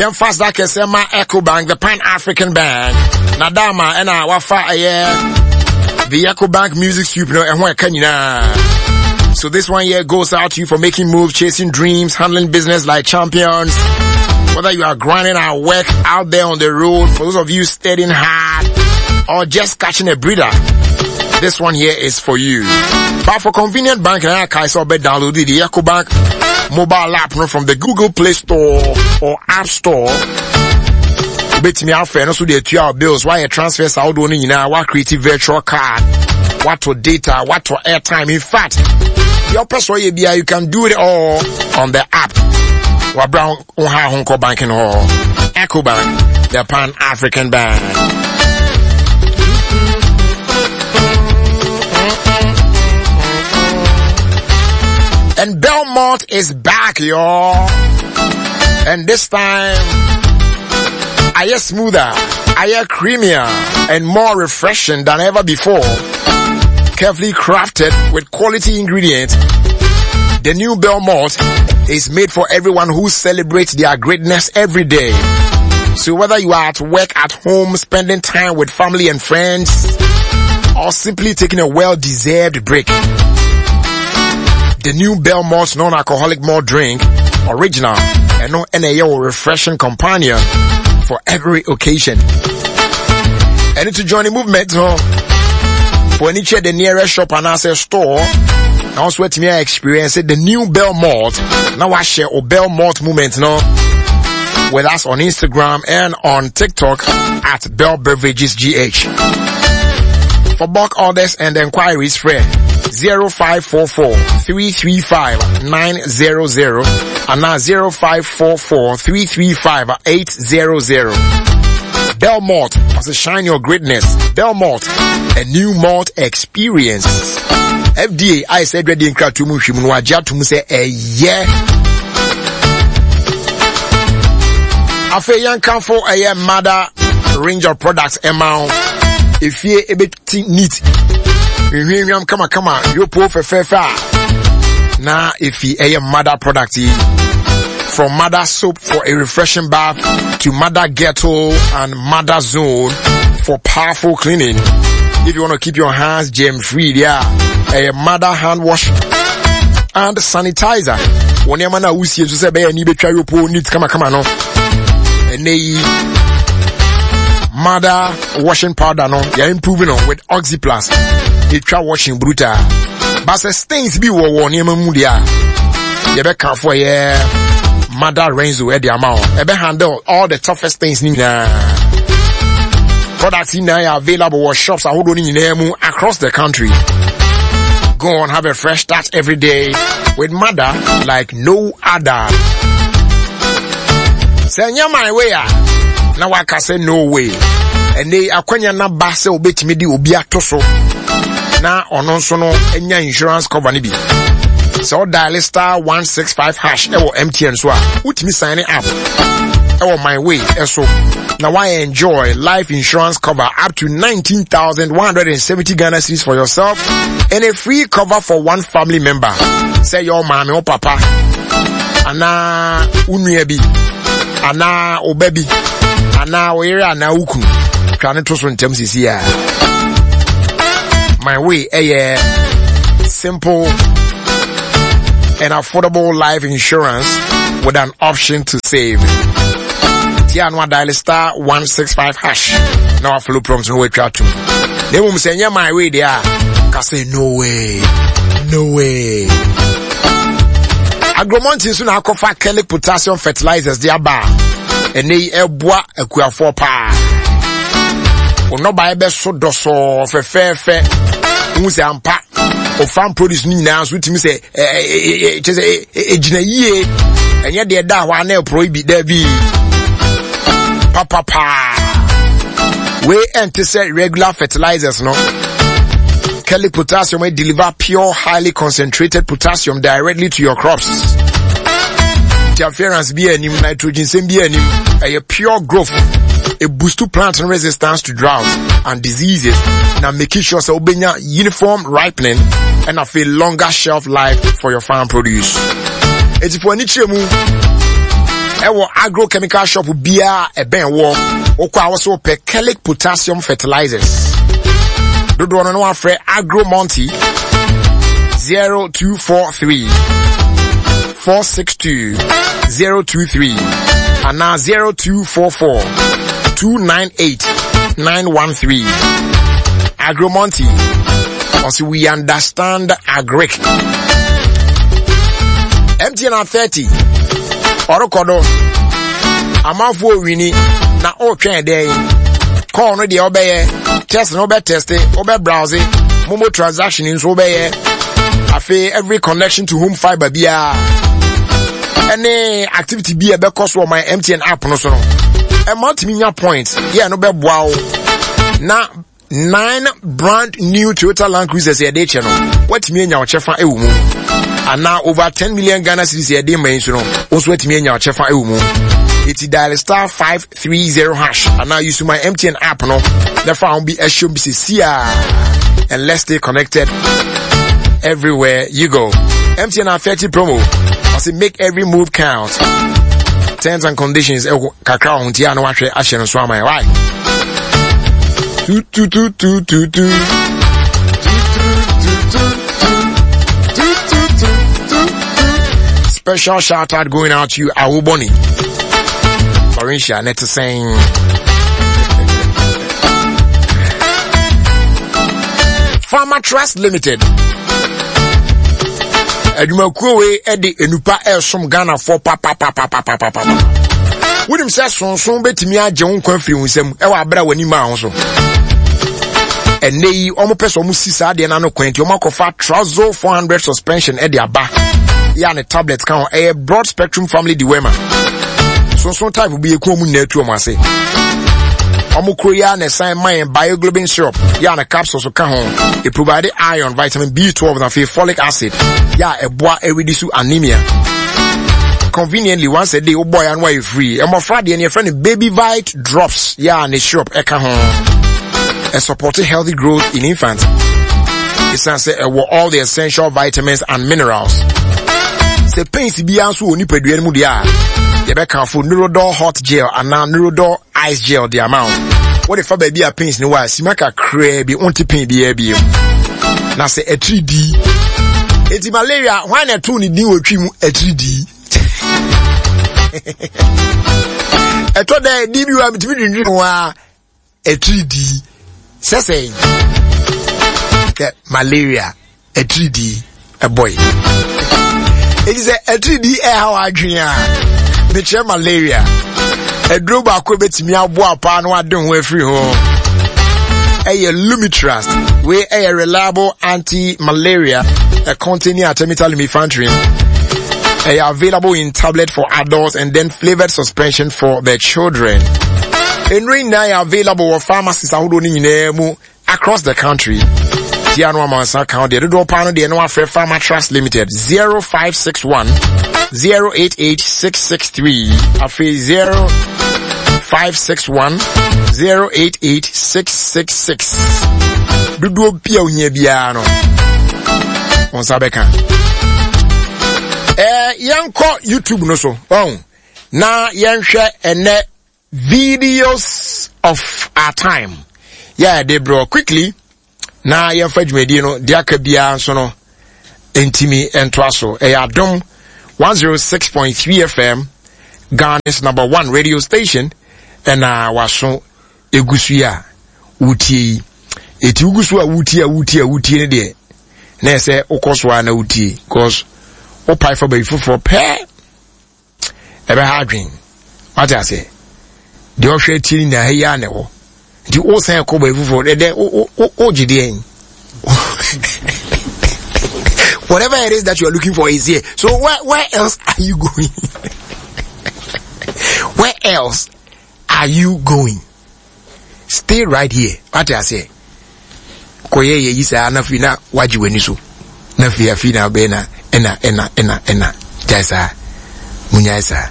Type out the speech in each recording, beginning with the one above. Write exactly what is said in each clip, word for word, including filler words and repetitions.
Yɛmfa sa kɛsɛ ma Ecobank, the Pan African Bank. Na dama ɛna wafa ɛyɛ the Ecobank Music Soup no ɛho ɛka nyinaa. So this one here goes out to you for making moves, chasing dreams, handling business like champions. Whether you are grinding at work out there on the road, for those of you studying hard or just catching a breather, this one here is for you. But for convenient banking, I can also download the EcoBank mobile app no, from the Google Play Store or App Store. Wobɛtumi afɛ no so de atua bills, woayɛ transfers ahodoɔ no nyinaa, woacreate virtual card, woatɔ data, woatɔ airtime. In fact, deɛ wopɛ sɛ ɔyɛ biara, you can do it all on the app. Wabra wo ha ho nkɔ banking hɔ. Ecobank, the Pan African Bank. And Belmont is back, y'all. And this time, I hear smoother, I hear creamier, and more refreshing than ever before. Carefully crafted with quality ingredients, the new Belmont is made for everyone who celebrates their greatness every day. So whether you are at work, at home, spending time with family and friends, or simply taking a well-deserved break, the new Belmont non-alcoholic malt drink, original, and no N A O refreshing companion for every occasion. And to join the movement, huh? For any check the nearest shop and access store, now also let me experience it, the new Belmont. Now I share or Belmont movement, no, with us on Instagram and on TikTok at Bell Beverages G H. For bulk orders and inquiries, free zero five four four three three five nine zero zero and now zero five four four three three five eight zero zero. Belmont, as a shine your greatness. Belmont, a new malt experience. F D A, I said ready in Kratumu Shimunwa Jatumu say a yeah. Afe yankamfo a year mother range of products amount. If ye a bit neat. Nhwehwam kama kama yopo fefefe na if ye a mother product from mother soap for a refreshing bath to mother ghetto and mother zone for powerful cleaning. If you want to keep your hands germ free, yeah, a mother hand wash and sanitizer. When your man usi so say be ni betwa yopo neat kama kama no. Ene mother washing powder no, you're improving on with OxyPlus. It washing brutal. But the stains be wo wo ne mu dia. You be careful yeah. Mother Renzo e the amount. E be handle all the toughest things ni na. Products in are available at shops across the country. Go on, have a fresh start every day with mother like no other. Say my way now I can say no way. And they akwanya na ba se obetimi di obi atoso na ono nso no enya insurance cover ni bi. So dial star one six five hash ewo M T N so a wotimi sign up ewo my way eso. Now I enjoy life insurance cover up to nineteen thousand one hundred seventy Ghana cedis for yourself and a free cover for one family member. Say your mommy or papa ana unua bi ana obabi ana oyere ana uku twa ne to so ntem sisi a. My way eh simple and affordable life insurance with an option to save. Tia no dial star one six five hash. Now I follow prompts no way try to. They won't say yeah my way there. Can say no way. No way. Agromonti so na akofa Kelly potassium fertilizers dia ba. Ene eboa akuafo pa. Ono ba ebe so doso fefefe. Hu se ampa. O farm produce ni nyina so timi se eh eh eh gina yie. Enye de da ho ana pro bi da bi. Papa pa. We ente say regular fertilizers no. Kelly potassium will deliver pure, highly concentrated potassium directly to your crops. Interference be any nitrogen same be any a pure growth. A boost to plant resistance to drought and diseases. Now making sure so obenya uniform ripening and a feel longer shelf life for your farm produce. It's for any chemu. Ɛwɔ agrochemical shop biara ɛbɛn wɔ wokɔ a wɔsɛ wopɛ Kelic potassium fertilizers dodoɔ no na wafrɛ Agro Monty zero two four three four six two zero two three anaa zero two four four two nine eight nine one three. Agro Monty, also we understand agric. M T N at thirty ɔrekɔ do amanfoɔ wini na ɔretwɛn dɛn? Call no deɛ ɔbɛyɛ, test no wobɛ test, wobɛ browse, MoMo transaction nso wobɛyɛ. Afei every connection to home fiber biara ɛne activity bi a ɛbɛkɔ so wɔ my M T N app no so no, ɛma tumi nya point yɛ no bɛboa wo na nine brand new Toyota Land Cruisers yɛde kyɛ no, watumi anya ɔkyɛfa ɛwɔ mu, anaa over ten million Ghana cedis yɛde ma yi nso no, wo nso watumi anya ɔkyɛfa ɛwɔ mu. Eti dial star five three zero hash anaa use my M T N app no na fa ho bi ɛhyɛ bi sɛ sia and let's stay connected everywhere you go. M T N at thirty promo. I say make every move count. Terms and conditions ɛwɔ kakra wɔn ti a na wahwɛ ahyɛ no so ama yɛ. Why? Two two two two two two. Two, two, two, two, two. Special shout out going out to you, Awuboni. Florencia, net saying. Farmer Trust Limited. Adwumakuo wei de enupa ɛresom Ghanafoɔ papapapapapapa. Wonim sɛ sonson bɛtumi agye wo nkwa firi wo nsam ɛwɔ abere a w'anim a ho so. Ɛnɛ yi wɔn pɛ sɛ wɔn si saa adeɛ n'ano kwan nti wɔn akɔfa Trazo four hundred suspension ɛde aba yɛ a ne tablet ka ho. Ɛyɛ broad spectrum family dewormer. Sonson type bi eku wɔn nyinaa tu wɔn ase. Wɔn kuro yi a na ɛsan ma yɛn Bioglobin syrup yɛ a ne capsules ka ho. It provide iron, vitamin B twelve na afei folic acid yɛ a ɛboa ɛredi so anemia. Conveniently once a day, wobɔ ya no ayɛ free. Mmɔfra deɛ no yɛfrɛ no Baby Vite drops yɛ a ne syrup ɛka ho. Ɛ support healthy growth in infants ɛsiane sɛ ɛwɔ all the essential vitamins and minerals. Sɛ pains biara nso wɔ nipadua no mu deɛ a, yɛbɛkamfo Neurodol hot gel anaa Neurodol ice gel de ama wo. Wode fa baabi a pains no wɔ a, sima kakraa bi, wonte pain biara bio. Na sɛ atiri dii enti malaria, hwan na ɛtoo ne din wɔ Twi mu atiri dii? Ɛtɔ dɛ di bi wa metumi dwindwin ho a atiri dii sɛ sɛn kɛ malaria atiri dii ɛbɔ yi. Eti sɛ atiri dii ɛha wɔ adwene a, mekyerɛ malaria aduro baako bɛtumi aboa paa na wade ho afiri ho ɛyɛ Lumitrust. Wei ɛyɛ reliable anti-malaria containing artemether lumefantrine. Ɛyɛ available in tablet for adults and then flavored suspension for the children. Nnuro nyinaa yɛ available wɔ pharmacies ahodoɔ no nyinaa mu across the country. Tia no amansa kan deɛ dodoɔ paa no deɛ no afrɛ Pharma Trust Limited zero five six one zero eight eight six six three, afei zero five six one zero eight eight six six six. Dodoɔ bi a ohia biara no wɔn nsa bɛka. Ɛɛ yɛnkɔ YouTube no so ɔn na yɛnhwɛ ɛnɛ videos of our time yɛ de brɔ quickly na yɛmfa dwumadie no deɛ aka biara nso no ntumi ntoa so. Ɛyɛ Adom one oh six point three F M, Ghana's number one radio station, ɛna waso egu so yi a wotie yi. Eti wogu so a wotie a wotie a wotie no deɛ, na ɛsɛ wokɔ so a na wotie, cause wopae fa baabi foforɔ pɛɛ ɛbɛha adwen. Wate aseɛ? Deɛ ɔhwɛ tie no nyinaa ha yi a na ɛwɔ nti wosan kɔ baabi foforɔ ɛdɛ wogye deɛ, whatever it is that you are looking for is here. So where where else are you going? Where else are you going? Stay right here. Wate aseɛ? Kɔyɛ yɛ yi saa na afei na wagye w'ani so na afei afei na abɛyɛ na ɛna ɛna ɛna ɛna gyae saa, munyae saa.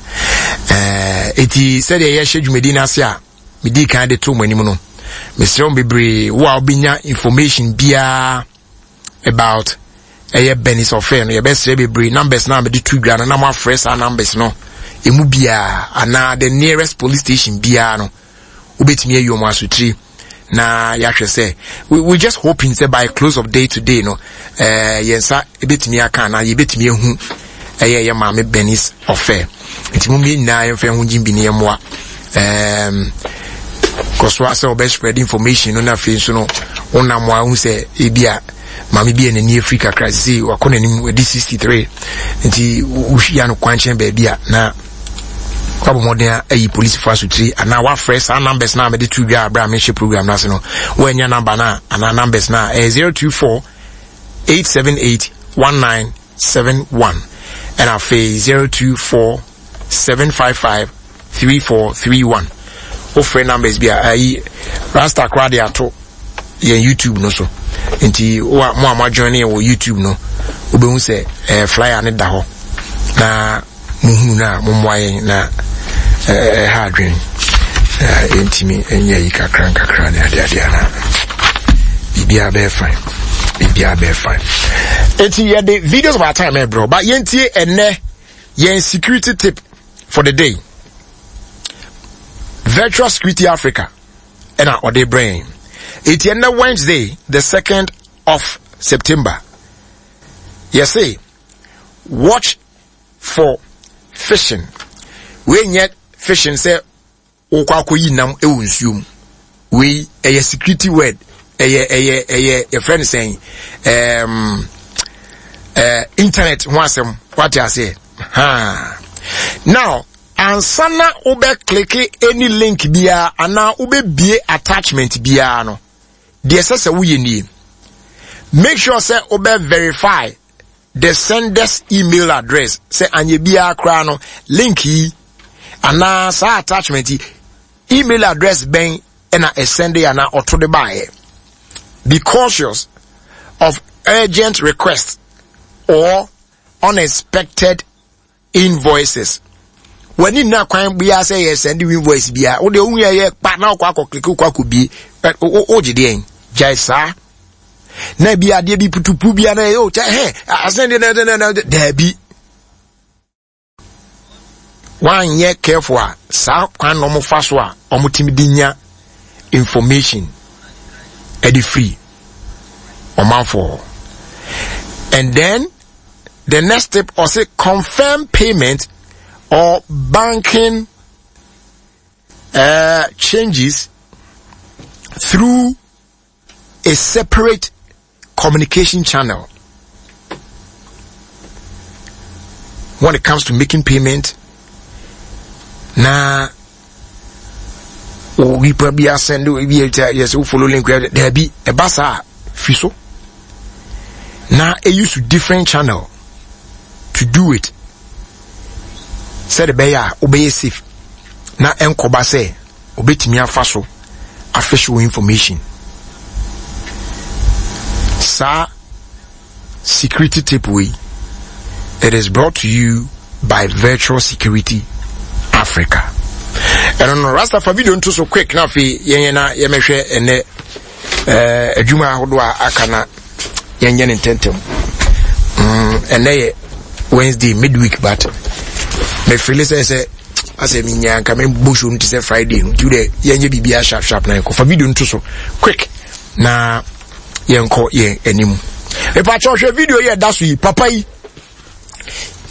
ɛɛ eti sɛdeɛ yɛhyɛ dwumadi n'ase a medi kan de to mo anim no, mesrɛ wo bebree, wo a wobɛnya information biara about ɛyɛ Bernice Offei no, yɛbɛsrɛ bebree, numbers na mede to dwa no na moafrɛ saa numbers no. Emu biara anaa the nearest police station biara no, wobɛtumi ayi ɔmo asotire na yɛahwɛ sɛ we we just hoping sɛ by close of day today no, ɛɛ yɛn nsa ebɛtumi aka anaa yɛbɛtumi ehu ɛyɛ yɛ Maame Bernice Ɔfɛ. Nti mo mmea nyinaa yɛmfa yɛn ho gye bi ne yɛn mmoa ɛɛm kɔso asɛ ɔbɛ spread information no. Na afei nso no, wonam a wohu sɛ ebi a maame bi a n'ani afiri kakra sisi, wakɔ n'anim, wadi sixty three, nti wohyia no kwankyɛn baabi a, na wabɔ mmɔden ayi polisifoɔ asotire anaa wafrɛ saa numbers na mede to dwa abere a mehyɛ program no ase no. Woanya number no a anaa numbers no a, ɛyɛ zero two four eight seven eight one nine seven one, ɛna afei zero two four seven five five three four three one. Wofrɛ numbers bi a, ayi Rasta koraa de ato yɛn YouTube no so, nti wo a mo a mo ajoin yɛn wɔ YouTube no, wobɛhu sɛ ɛɛ flyer ne da hɔ na muhunu no a, mommoa yɛn na ɛha adwene yɛntumi nyɛ yi kakra nkakra ne adeadeɛ na biribiara bɛyɛ fine, biribiara bɛyɛ fine. Eti yɛde videos of our time ɛbrɛ, but yɛntie ɛnɛ yɛn security tip for the day. Virtual Security Africa ɛna ɔde brɛ yɛn. Eti ɛnɛ Wednesday, the second of September, yɛse watch for phishing. Wei nyɛ fishing sɛ wokɔ akɔyi nam wɔ nsuo mu. Wei ɛyɛ security word, ɛyɛ ɛyɛ ɛyɛ yɛfrɛ no sɛn, ɛɛm ɛɛ internet ho asɛm, wate aseɛ haa. Now, ansa na wobɛ click any link biara anaa wobɛbie attachment biara no, deɛ ɛsɛ sɛ woyɛ nie: make sure sɛ wobɛ verify the sender's email address, sɛ anyɛ biara koraa no, link yi anaa saa attachment yi, email address bɛn ɛna ɛsɛnde anaa ɔto de baeɛ. Be cautious of urgent requests or unexpected invoices. W'ani nna kwan biara sɛ yɛ send invoice biara wode ohun yɛ yɛ kpa na ɔkɔ akɔ click, wokɔ akɔ bie, wogye deɛn? Gyae saa. Na ebi adeɛ bi putupu bi ana o kyɛ hɛ asɛn deɛ na na daabi, wanyɛ careful a, saa kwan na wɔn fa so a wɔn ti de nya information ɛde free ɔmanfoɔ. And then the next step, ɔsɛ confirm payment or banking uh, changes through a separate communication channel. When it comes to making payment na onipa bi asɛnde bi yɛ sɛ wo follow link, daabi, ɛba saa, fi so na use different channel to do it, sɛde bɛyɛ a wobɛyɛ safe na ɛnkɔba sɛ obɛtumi afa so official information. Saa security tip wei, it is brought to you by Virtual Security Africa. Ɛno no, Rasta, fa video nto so quick na afei yɛnyɛ na yɛmɛhwɛ ɛnɛ ɛɛ adwuma ahodoɔ a aka na yɛnyɛ ne ntɛntɛm. mm, ɛnɛ yɛ Wednesday, midweek, but mefili sɛ sɛ asɛ menya nka mebɔ show no te sɛ Friday no, nti wodɛ yɛnyɛ biribiaa sharp sharp na yɛnkɔ. Fa video nto so quick na yɛnkɔ yɛn anim. Mepakyɛ, hwɛ video yi ɛda so yi. Papa yi,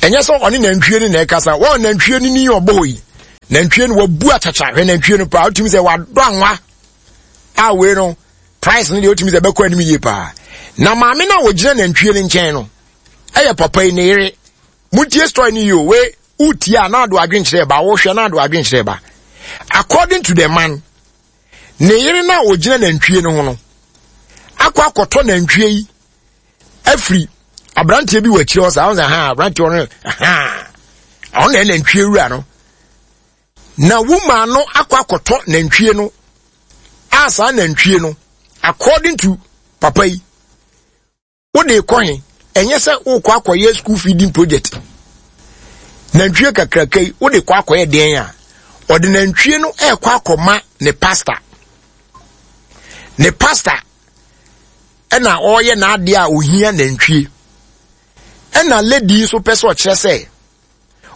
ɛnyɛ sɛ ɔne nantwie no na ɛkasa. Wɔn nantwie no ni ɔbɔ hɔ yi, nantwie no wabu akyakya. Hwɛ nantwie no paa, wotumi sɛ wadɔ anwa a wei no price no deɛ, wotumi sɛ ɛbɛkɔ anim yie paa. Na maame no a wɔgyina nantwie no nkyɛn no ɛyɛ papa yi ne yere. Montie story no yie o. Wei wotie a, na ado adwenkyerɛ ba, wohwɛ na ado adwenkyerɛ ba. According to the man, ne yere no a wɔgyina nantwie no ho no akɔ akɔtɔ nantwie yi afiri aberanteɛ bi wɔ akyire hɔ. Saa ɔsɛ ha aberanteɛ no ha, ɔno na nantwie wura no, na woman no akɔ akɔtɔ nantwie no a, saa nantwie no, according to papa yi, wode kɔ he? Ɛnyɛ sɛ wokɔ akɔyɛ school feeding project. Nantwie kakraka yi, wode kɔ akɔyɛ deɛn? A ɔde nantwie no ɛrekɔ akɔma ne pastor, ne pastor ɛna ɔreyɛ n'adeɛ a ohia nantwie. Ɛna lady nso pɛ sɛ ɔkyerɛ sɛ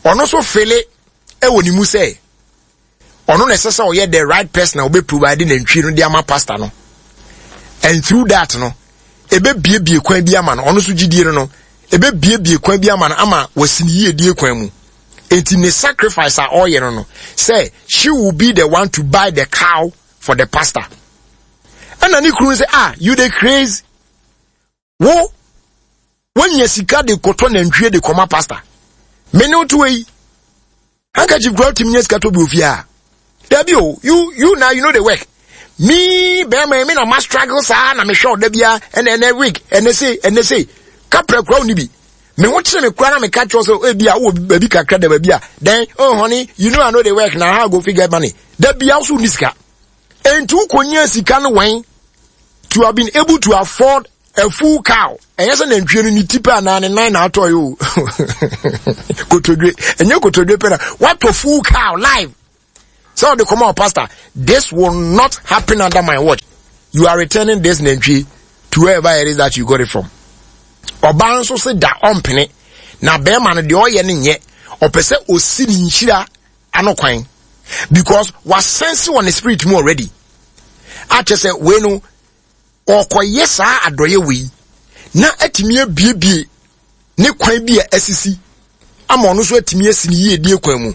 ɔno nso fele ɛwɔ ne mu sɛ ɔno na ɛsɛ sɛ ɔyɛ the right person a ɔbɛ provide nantwie no de ama pastor no, and through that no, ɛbɛbiebie kwan bi ama no. Ɔno nso gyidie no no ɛbɛbiebie kwan bi ama no ama wasi ne yiedie kwan mu. Enti ne sacrifice a ɔyɛ no no sɛ she will be the one to buy the cow for the pastor. Ɛna ne kunu sɛ, "Ah, you dey crazy. Wo wanya sika de kɔtɔ nantwie de kɔma pastor? Me ne woto yi handkerchief kura wotumi nya sika tɔ bi ofie a, dabi o. you you now you know the work. Me bɛrima, me na ma struggle saa na mehwɛ ɔda bia, ɛna ɛnɛ wig, ɛnɛ se ɛnɛ se kapra kura wo ni bi. Me ho kyerɛ me kura na meka kyerɛ sɛ ebi a wowɔ baabi kakra da baabi a. Then, oh honey, you know I know the work na how I go fit get money? Da bia wo so ni sika. Enti wokɔnya sika no wɛn to have been able to afford a full cow? Ɛnyɛ sɛ nantwie no ne ti pɛ anaa ne nan na atɔ yi o, kotodwe, ɛnyɛ kotodwe pɛ na watɔ, full cow live sɛ ɔde kɔma pastor. This will not happen under my watch. You are returning this nantwie to wherever it is that you got it from. Ɔbaa nso se da, ɔmpene na bɛrima no deɛ ɔyɛ no nyɛ. Ɔpɛ sɛ osi ne nhyira ano kwan because wasense wɔ ne spirit mu already akyɛ sɛ wei no ɔkɔyɛ saa adɔyɛ wei na atumi abiebie ne kwan bi a asisi ama ɔno nso atumi asi ne yiedie kwan mu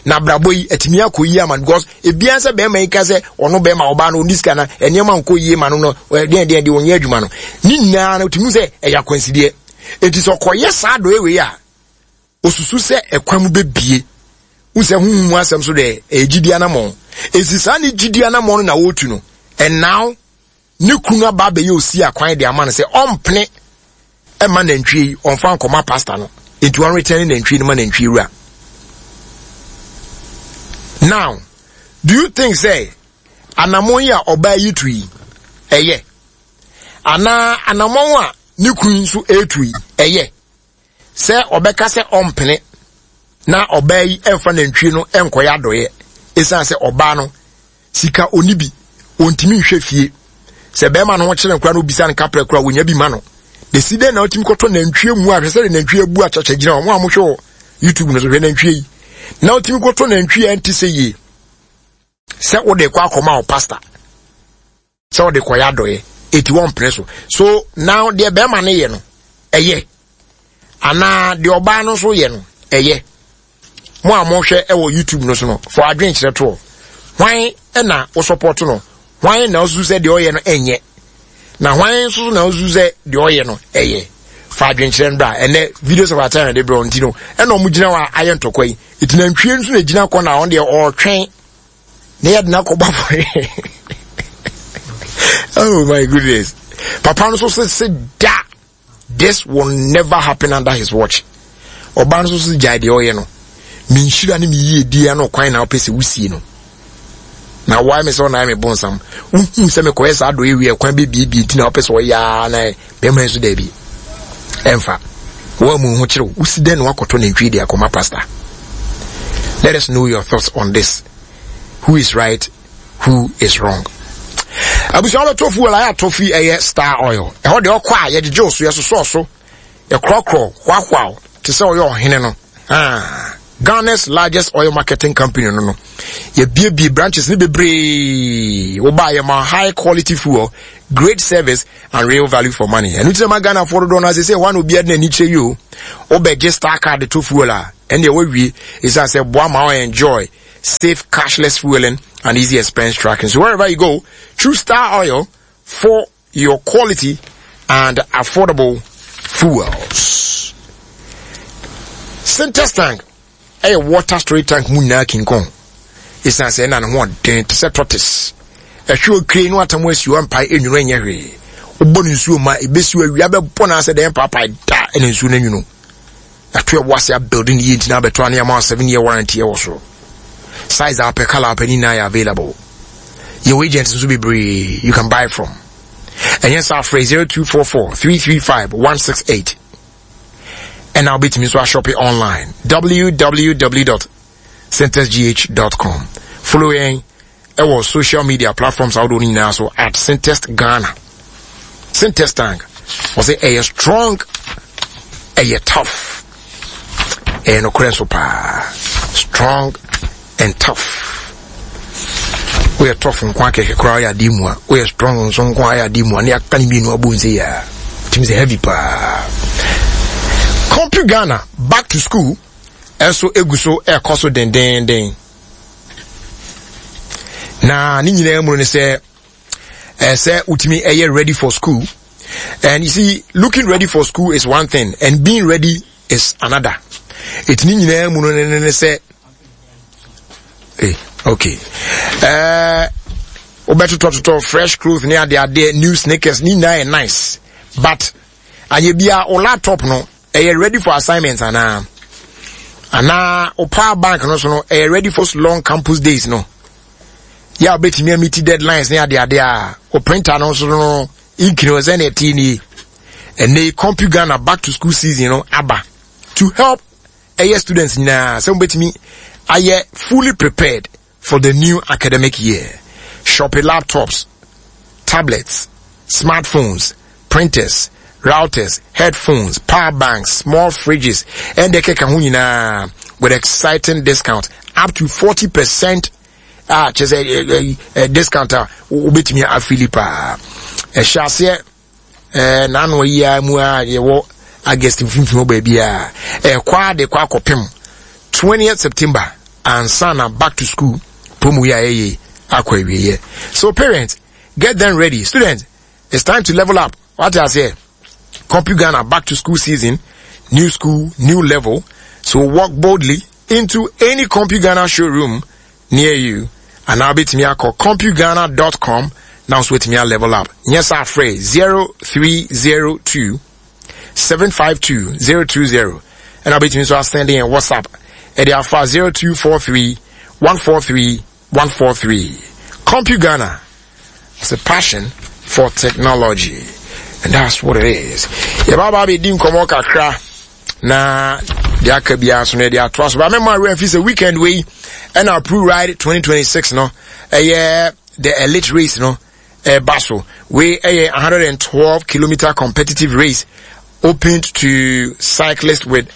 na abrabɔ yi atumi akɔ yie ama no, because ebiara sɛ bɛrima yi ka sɛ ɔno bɛrima ɔbaa no ɔni sika na nneɛma nkɔ yie ma no no deɛ deɛ deɛ ɔnyɛ adwuma no ne nyinaa no tumi sɛ ɛyɛ akwansideɛ. Eti sɛ ɔkɔyɛ saa adɔyɛ wei a, osusu sɛ ɛkwan mu bɛbie wosɛ huhu mu asɛm so deɛ ɛyɛ gyidi anamɔn. Esi saa ne gyidi anamɔn no na wɔretu no, ɛnaaw ne kunu aba abɛyɛ osi akwan de ama no sɛ ɔmpene ɛma nantwie yi ɔnfa nkɔma pastor no, nti wɔn return nantwie no ma nantwie wura. Now, do you think say anamɔn yi a ɔbaa yi tu yi ɛyɛ, anaa anamɔn a ne kunu nso etu yi ɛyɛ, sɛ ɔbɛka sɛ ɔmpene na ɔbaa yi ɛmfa nantwie no ɛnkɔyɛ adɔyɛ, ɛsiane sɛ ɔbaa no sika oni bi, ɔntumi nhwɛ fie, sɛ bɛrima no ho kyerɛ nkora no obisa no kaprɛ kora wonya bi ma no de si dɛn na ɔtumi kɔtɔ nantwie mu a? Hwɛ sɛ de nantwie abu akyakya gyina wɔn a mohwɛ wɔ YouTube no so. Hwɛ nantwie yi na ɔtumi kɔtɔ nantwie a ɛnte sɛ yie sɛ wode kɔ akɔma wo pastor sɛ wode kɔyɛ adɔyɛ, eti wɔn mpene so. So now, deɛ bɛrima no yɛ no ɛyɛ, anaa deɛ ɔbaa no nso yɛ no ɛyɛ? Mo a mohwɛ ɛwɔ YouTube no so no, for adwenkyerɛ toɔ, hwan ɛna wo support no? Hwan na osusu sɛ deɛ ɔyɛ no ɛnyɛ, na hwan nso na osusu sɛ deɛ ɔyɛ no ɛyɛ? Fa adwenkyerɛ no bra. Ɛnɛ Videos of Our Time de brɛ nti no, ɛna ɔmo gyina hɔ a ayɛ ntɔkwa yi. Eti nantwie nso na egyina kɔ na ɔno deɛ ɔretwɛn na yɛde no akɔbɔ afɔre. Oh my goodness! Papa no nso sɛ da, this will never happen under his watch. Ɔbaa no nso sɛ gyae deɛ ɔyɛ no, me nhyira ne me yie die ano kwan na wopɛ sɛ wosie no na wae me sɛ ɔnan me bonsam. Wohu sɛ mekɔyɛ saa dɔ ewie kwan bɛbiebie nti na wopɛ sɛ ɔyɛ na bɛrima nso daabi, ɛmfa wɔn mu ho kyerɛw. Wosi dɛn na wakɔtɔ nantwie de akɔma pastor? Let us know your thoughts on this. Who is right? Who is wrong? Abusua, wɔbɛtɔ fuel ayɛ atɔ fi ɛyɛ Star Oil. Ɛhɔ deɛ ɔkɔ a yɛgyegye wo so, yɛsosɔ so, yɛkorɔkorɔ hoahoa te sɛ ɔyɛ ɔhene no. Ah, Ghana's largest oil marketing company no no yɛbiebie branches ne bebree. Wobaa yɛ ma high quality fuel, great service and real value for money. Ɛno nti na ma Ghanafoɔ dodoɔ no ase sɛ hɔ a na obiara de n'ani kyerɛ yi o. Wobɛgye Star card to fuel a, ɛndeɛ wawie, ɛsiane sɛ boa ma wo enjoy safe cashless fueling and easy expense tracking. So wherever you go, choose Star Oil for your quality and affordable fuels. Syntest tank ɛyɛ water storage tank mu nyinaa King Kong, ɛsiane sɛ ɛna ne ho ɔden te sɛ tortoise. Ɛhwɛ okire no atam asi hɔ mpae enwunu, ɛnyɛ hwee. Wobɔ no nsuo ma ebesi awia bɛbɔ no asɛ dɛn paapae da ɛna nsuo no nwunu. Ato ɛwɔ ase abuilding yie nti na abɛtɔ ane ama seven year warranty ɛwɔ so. Size a wopɛ, color a wopɛ ne nyinaa yɛ available. Yɛwɔ agents nso bebree you can buy from. Ɛnyɛ saa, frɛ zero two four four three three five one six eight, ɛna wobɛtumi nso ashop online, w w w dot syntestgh dot com. Follow yɛn ɛwɔ social media platforms ahodoɔ no nyinaa so at Syntest Ghana. Syntest tank, ɔsɛ ɛyɛ strong, ɛyɛ tough, ɛyɛ nokorɛ nso paa, strong. and tough. Woyɛ tough nko akɛkɛ koraa woyɛ adeɛ mu a woyɛ strong nso nko ayɛ adeɛ mu a ne aka ne mmienu abɔ nse yɛ a tumi sɛ heavy paa. Compu Ghana back to school ɛnso egu so ɛrekɔ so dendenden na ne nyinaa mu no sɛ ɛsɛ wotumi ɛyɛ ready for school and you see looking ready for school is one thing and being ready is another ɛti ne nyinaa mu no ne ne sɛ eh, okay ɛɛ wobɛtotɔtotɔ fresh clothes ne adeadeɛ new sneakers ne nyinaa yɛ nice but anyɛ bia wo laptop no ɛyɛ ready for assignments anaa anaa wo power bank no so no ɛyɛ ready for long campus days no yɛ a wobɛtumi ameet deadlines ne adeade a wo printer no nso no ink no sɛ ne ɛte nie ɛnɛ Compu Ghana back to school season no aba to help ɛyɛ students nyinaa sɛ wobɛtumi ayɛ fully prepared for the new academic year shopping laptops tablets smartphones printers routers headphones power banks small fridges and the keka ho nyinaa with exciting discount up to forty percent a kyerɛ sɛ ɛ discount a wobɛtumi afili paa ɛhyɛ aseɛ ɛɛ n'ano yi a mu a yɛwɔ august mfimfini hɔ baabi a ɛkɔ a de kɔ akɔpem twentieth september ansa na back to school promo yi a yɛyɛ akɔ awieɛ so parents get them ready students it's time to level up wate aseɛ Compu Ghana back to school season new school new level so walk boldly into any Compu Ghana showroom near you and now betumi akɔ compughana dot com na nso wetumi a level up nyɛ sɛ afrɛ zero three zero two seven five two zero two zero ɛna wobɛtumi nso asend yɛn whatsapp ɛde afa zero two four three one four three one four three Compu Ghana it's a passion for technology and that's what it is yɛbaaba abɛdi nkɔmmɔ kakra na deɛ aka biara so no yɛde atoa so ba mɛma awerɛ mfi sɛ weekend wei ɛna Pro Ride twenty twenty six no ɛyɛ the elite race no ɛba so wei ɛyɛ one hundred and twelve kilometer competitive race opened to cyclists with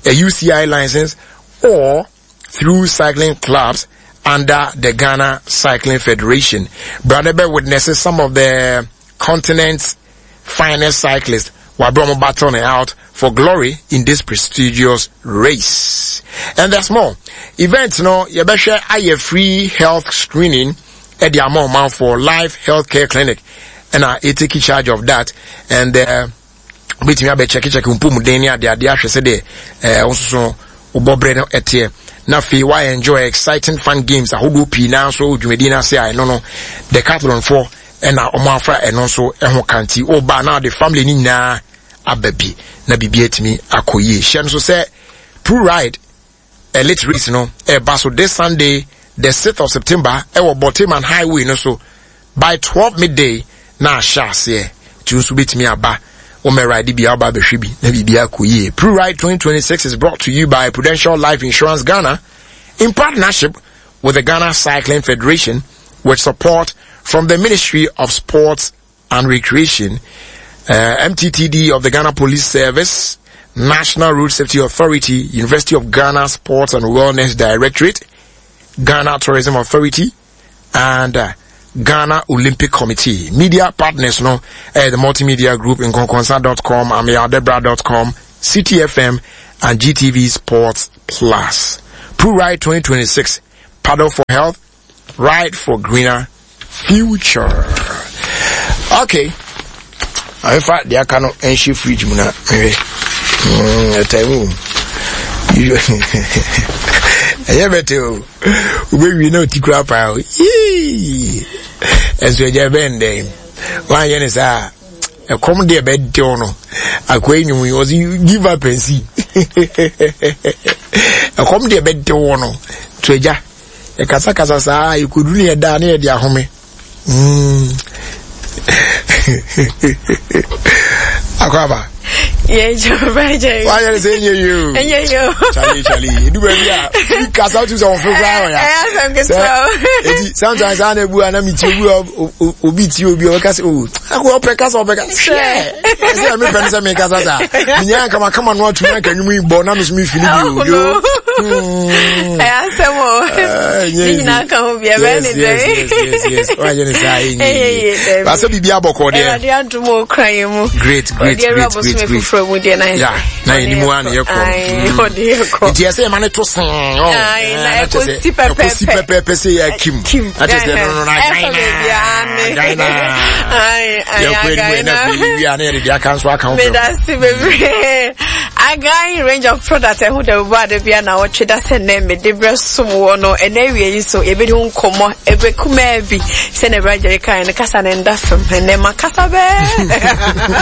a U C I license or through cycling clubs under the Ghana Cycling Federation. Bradebe witnesses some of the continent's finest cyclists were battling out for glory in this prestigious race. And there's more. Events no, you better aye free health screening at the Amon for Life Healthcare Clinic. And I take charge of that. And uh, wait me check check mpomuden ne ade ade ahwɛ sɛ de eh nso obobre no etie na fe why enjoy exciting fun games ahodo pii na so dwumadi na se ai no no decathlon for na omo afra eno nso eho kanti oba na the family ni nyina ababi na bibia timi akoye hye nso sɛ Pro Ride elite race no e ba so this Sunday the sixth of September e wo Borteyman Highway no so by twelve midday na ahye ase ti nso betimi aba Ome ride bi aba behwe bi na bibia akoye Pro Ride twenty twenty-six is brought to you by Prudential Life Insurance Ghana in partnership with the Ghana Cycling Federation with support from the Ministry of Sports and Recreation, uh, M T T D of the Ghana Police Service, National Road Safety Authority, University of Ghana Sports and Wellness Directorate, Ghana Tourism Authority, and uh, Ghana Olympic Committee. Media partners, no, uh, the Multimedia Group, Nkonkonsa dot com, Amiadebra dot com, C T F M, and G T V Sports Plus. Pro Ride twenty twenty-six, paddle for health, ride for greener future. Okay. In fact, the aka no enshi fridge mu na mehwɛ. Mm, time. Ɛyɛ bɛte o. Wobɛwie na ɔti kura paa o. Yee! Ɛnso agya bɛn dɛn. Woanyɛ ne saa a, ɛkɔm deɛ bɛde wo no. Akoa yi nwom yi, ɔse give up and see. Ɛkɔm deɛ bɛde wo no. To agya, yɛkasakasa saa, yɛkɔduru ne yɛda ne yɛde ahome. Mm. Akwaba. Yeah, Joe. Why you saying you? Yeah, you. Charlie, Charlie. You do baby. You cast out to some for ya. Sometimes I never and I'm you obi ti obi o kasa o. Akwa opeka so opeka. Share. Say me friend say me kasa sa. Nya kama kama no atumi aka nwum bo na me so me fili bi o. Ɛyɛ asɛm o. Ne nyinaa ka ho bi ɛbɛyɛ ne dɛn. Yes, yes, yes. Wayɛ ne saa ɛnyɛ yie. Baasa biribi abɔkɔ deɛ. Awurade adom o kura yɛn mu. Great, great, great, great, great. Foforɔ mu deɛ na yɛ. Ya, na yɛn nimu a na yɛ kɔ. Ɔde yɛ kɔ. Nti ɛsɛ yɛ ma ne to sɛn. Na ɛkɔsi pɛpɛɛpɛ. Ɛkɔsi pɛpɛɛpɛ sɛ yɛ akim. Kim. Na kyerɛ sɛ no no na Ɛfa baabi a ne. Ghana. Ayi, Yɛ kɔ anim ɛna afei wie a na yɛde deɛ aka nso aka ho. Medase bebree. Agan range of product ɛho da bu ade bia na wɔtwe da sɛ nnɛ mede brɛ som wɔ no ɛnɛ awie yi so yɛbɛdi ho nkɔmmɔ ɛbɛ kumaa bi sɛ na ɛbrɛ agyere kan no kasa no nda fam ɛnɛ ma kasa bɛɛ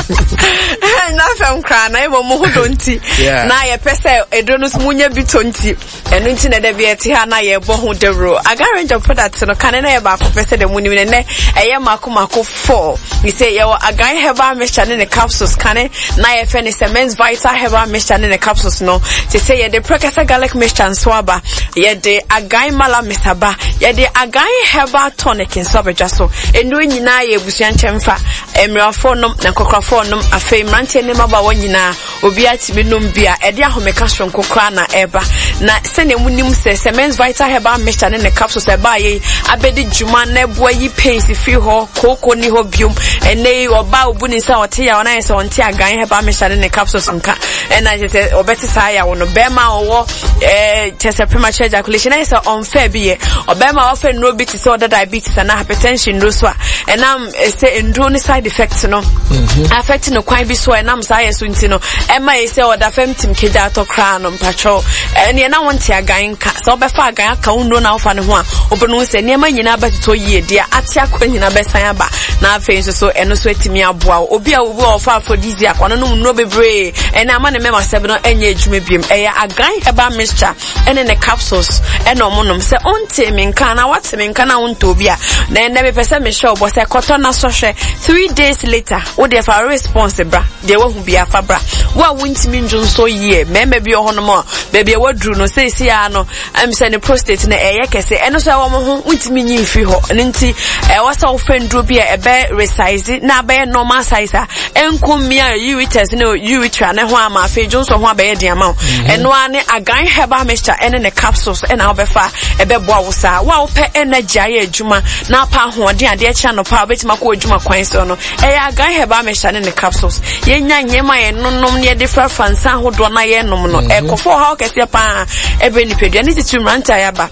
nda fam koraa na ɛbɔ mo ho dɔ nti na yɛpɛ sɛ ɛduro no so munya bi tɔ nti ɛno nti na ɛda bi ɛte ha na yɛbɔ ho dawuro. Agan range of product no kane na yɛ baako pɛ sɛ dɛ mu nim nɛ ɛyɛ mako mako four. Sɛ yɛwɔ Agan herbal mixture ne ne capsules kane na yɛfɛ ne Cement Vital herbal mixture ne ne capsules no te sɛ yɛde Prekese garlic mixture nso aba, yɛde Agan Malamis aba, yɛde Agan herbal tonic nso abɛdwa so. Nnuro nyinaa yɛ abusua nkyɛnfa, mmerɛwafoɔ nom na nkɔkorafoɔ nom, afei mmeranteɛ ne mmabaawa nyinaa obiara tumi nom bi a ɛde ahomeka soronko koraa na ɛba. Na sɛnea munim sɛ Cement Vital herbal mixture ne ne capsules ɛbaa yɛ abɛdi dwuma na ɛboa yi pains firi hɔ, kooko ni hɔ biom. Ɛnɛ yi ɔbaa obu ne nsa ɔte yaw na yɛ sɛ ɔnte Agan herbal mixture ne ne capsules nka ɛna kyerɛ sɛ ɔbɛte saa yaw no. Bɛrima a ɔwɔ ɛɛ kyerɛ sɛ premature ejaculation na yɛ sɛ ɔnfɛ bi yɛ ɔbɛrima a ɔfɛ nnuro bi te sɛ ɔda diabetes anaa hypertension nnuro so a ɛnam sɛ nnuro ne side effect no affect no kwan bi so a ɛnam saa yɛ so nti no ɛma yɛ sɛ ɔda fam tim kegya atɔ koraa no mpatwɛw ɛneɛ na wonte Agan nka sɛ wobɛfa Agan aka wo nnuro na wofa ne ho a wobɛno sɛ nneɛma nyinaa bɛtotɔ yie deɛ ate akɔ nyinaa bɛsan aba na afei nso so ɛno nso atumi aboa wo. Obi a obi a ɔfa aphrodisiac ɔno nom nnuro bebree ɛna ama ne mɛma sɛb no ɛnyɛ adwuma biom. Ɛyɛ Agan herbal mixture ɛne ne capsules ɛna ɔmo nom. Sɛ ɔnte me nka na wate me nka na wontɔ obi a na ɛnɛ mepɛ sɛ mehyɛ ɔbɔ sɛ kɔtɔ na sɔhwɛ three days later wo deɛ fa response bra deɛ wahu bi afa bra. Wo a wontumi ndwo nso yie mmarima bi wɔ hɔnom a baabi a waduru no seesie a no ɛm sɛ ne prostate no ɛyɛ kɛse ɛno nso ɛwɔ mo ho wontumi nyi mfiri hɔ ɛno nti ɛwɔ sɛ wofɛ nduro bi a ɛbɛ resize na abɛyɛ normal size a ɛnko mmea ureters ne urethra ne ho ama afei dwonso ho abɛyɛ den ama wo. Ɛno ara ne Agan herbal mixture ɛne ne capsules ɛna wobɛfa ɛbɛboa wo saa. Wo a wopɛ energy ayɛ adwuma na apa ahoɔden adeɛ kyɛ anɔpa a wobɛtumi akɔ adwuma kwan so no ɛyɛ Agan herbal mixture ne ne capsules. Yɛnya nneɛma a yɛnonom ne yɛde frafra nsa ahodoɔ na yɛnom no ɛkɔfo ɔhaw kɛseɛ paa ɛbɛ nipadua ne titiri mmerante a yɛaba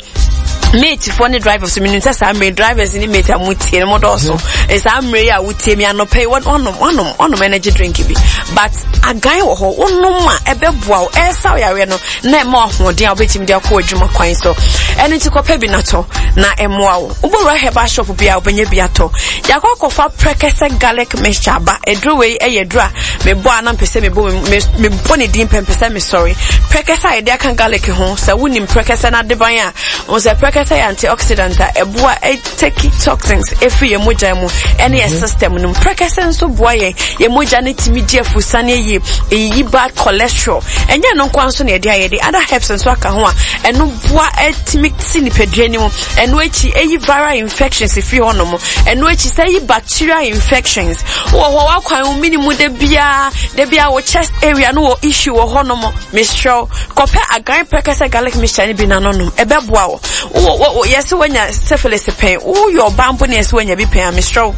matefoɔ ne drivers. Menim sɛ saa mmerɛ drivers ne mate a motie no modɔɔso. Saa mmerɛ yi a wotie mi anɔpɛ yi wanom wanom wanom energy drink bi but Agan wɔ hɔ wonom a ɛbɛboa wo ɛsa wo yareɛ no na ɛma ahoɔden a wobɛtumi de akɔ adwuma kwan so. Ɛno nti kɔpɛ bi natɔ na ɛmmoa wo. Wobɛwura herbal shop bi a wobɛnya bi atɔ. Yɛakɔ akɔfa Prekese garlic mixture aba. Aduro wei ɛyɛ aduro a mebɔ a na mpɛ sɛ mebɔ mebɔ ne din pɛ mpɛ sɛ mesɔre. Prekese a yɛde aka garlic ho sɛ wonim prekese no adeban a wo sɛ prekese yɛ antioxidant a ɛboa take toxins ɛfiri yɛn mogya mu ɛne yɛ system no mu. Prekese nso boa yɛn yɛn mogya no tumi di afusane yie, ɛyiyi bad cholesterol. Ɛnyɛ no nkoa nso na yɛde ayɛ de other herbs nso aka ho a ɛno boa ɛtumi si nipadua no mu. Ɛno akyi ɛyi viral infections firi hɔnom. Ɛno akyi sɛ ɛyi bacterial infections wɔ hɔ wakwan wo minimu da biara da biara wɔ chest area no wɔ issue wɔ hɔnom. Mesrɛ kɔpɛ Agan Prekese garlic mixture no bi na no nom ɛbɛboa wo. Wo yɛsɛ wanya syphilis pɛn woyɛ ɔbaa mpo ne yɛsɛ wanya bi pɛn a mesrɛ wo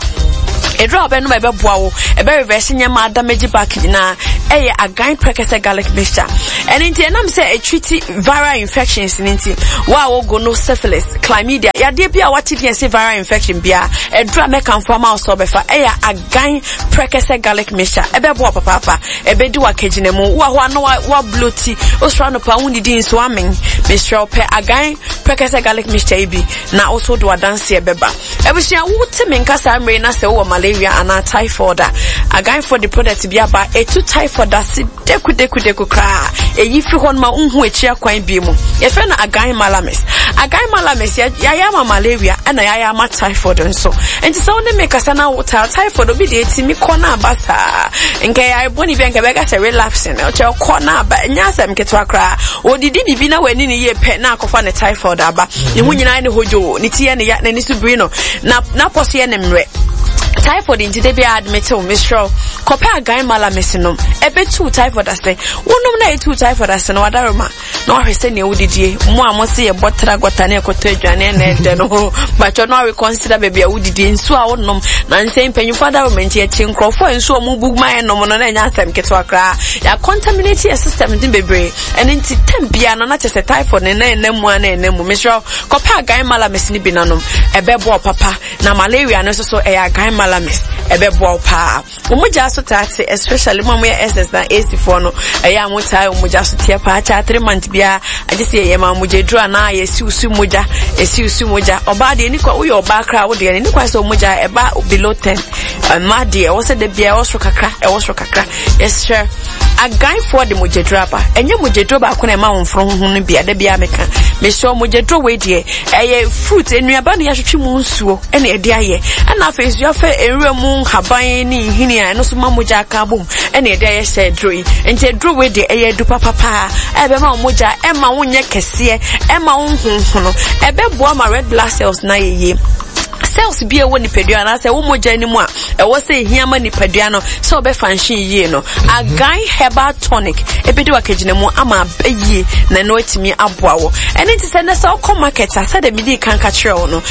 ɛduru a wobɛnom a ɛbɛboa wo ɛbɛ reverse nneɛma adamage back nyinaa ɛyɛ Agan Prekese garlic mixture. Ɛno nti ɛnam sɛ ɛtreat viral infections no nti wo a wogo no syphilis, chlamydia, yadeɛ bi a wate deɛ sɛ viral infection biara ɛduru a mɛkamfo ama wo sɛ wobɛfa ɛyɛ Agan Prekese garlic mixture. Ɛbɛboa papaapa, ɛbɛdi wakagyina mu. Wo a hɔ a na wabloti wosoro anɔpa wonnidi nso amen mesrɛ wo pɛ Agan Prekese garlic mixture yi bi na wo so de wadanseɛ bɛba. Abusua wote me nka saa mmere na sɛ wowɔ malaria anaa typhoid a Aganfoɔ de product bi aba ɛtu typhoid ase deku deku deku koraa ɛyi firi hɔ no ma wonhu akyi akwan bi mu. Yɛfrɛ no Agan Malamis. Agan Malamis yɛayɛ ama malaria ɛna yɛayɛ ama typhoid nso. Nti sɛ wo ne me kasa na wo typhoid obi deɛ ɛtumi kɔ na aba saa nka yɛayɛ bɔne bi a nka bɛka sɛ relapsing ɔkyɛ kɔ na aba ɛnyɛ asɛm ketewa koraa. Wɔdidi biribi na w'ani ne yie pɛ na akɔfa ne typhoid aba. Ne ho nyinaa ne hodwo ne ti yɛ ne ya n'ani so biri no na n'apɔ so yɛ ne mmerɛ typhoid nti de bi a admit wo mesrɛ Kɔpɛ Agan Malamis nom, ɛbɛtu typhoid ase. Wonom na ɛtu typhoid ase no, wadaroma na wahwɛ sɛnea wodidie. Mo a mo se yɛbɔ tra gɔta ne ɛkɔtɔ aduane na ɛdɛ no ho, batwɛ no areconsider baabi a wodidie, nsuo a wonom. Na nsɛn mpanyinfoɔ adaroma nti yɛkye nkurɔfoɔ a nsuo a ɔmo bu ma yɛnom no na ɛnyɛ asɛm ketewa koraa. Yɛacontaminate yɛ system ne bebree, ɛno nti tam bia no na kyerɛ sɛ typhoid ne na ɛnam mu a na ɛnam mu. Mesrɛ kɔpɛ Agan Malamis no bi nanom, ɛbɛboa wo papa. Na malaria no nso so ɛyɛ Agan Malamis, ɛbɛboa wo paa. Wɔn mogya so taa te, especially mo a moyɛ S S na A C foɔ no, ɛyɛ a mo taa wɔn mogya so teɛ paa kyɛ three months biara, agye sɛ yɛyɛ ma mogya duro anaa yɛsi so mogya, yɛsi so mogya. Ɔbaa deɛ, ni kwa woyɛ ɔbaa koraa, wo deɛ ni kwa sɛ mogya ɛba below ten. Mmaa deɛ, ɛwɔ sɛ de bia ɛwɔ soro kakra, ɛwɔ soro kakra. Yɛsrɛ, Aganfoɔ de mogyaduro aba. Ɛnyɛ mogyaduro baako na ɛma wɔn mforo ho no bi ada biara meka. Mesrɛ, mogyaduro wei deɛ, ɛyɛ fruit nnuaba na yɛahwehwɛ mu nsuo ɛna ɛde ayɛ, ɛna afei nso yɛafɛ nwura mu nhaban ne nhini a ɛno nso ma mogya aka abom ɛna ɛde ayɛ sɛ aduro yi. Nti aduro wei deɛ, ɛyɛ adu papapaa a ɛbɛma wo mogya, ɛma wo nyɛ kɛseɛ, ɛma wo nhohono, ɛbɛboa ma red blood cells na yɛ yie. Cells bi a ɛwɔ nipadua anaasɛ ɛwɔ mogya no mu a ɛwɔ sɛ ehia ma nipadua no sɛ ɔbɛfa nhye yie no, Agan Herbal Tonic ebedi wakagyina mu ama aba yie na ɛno atumi aboa wɔ. Ɛne nti sɛ nɛ sɛ ɔkɔ market a, sɛdeɛ medi kan ka kyerɛ wo no na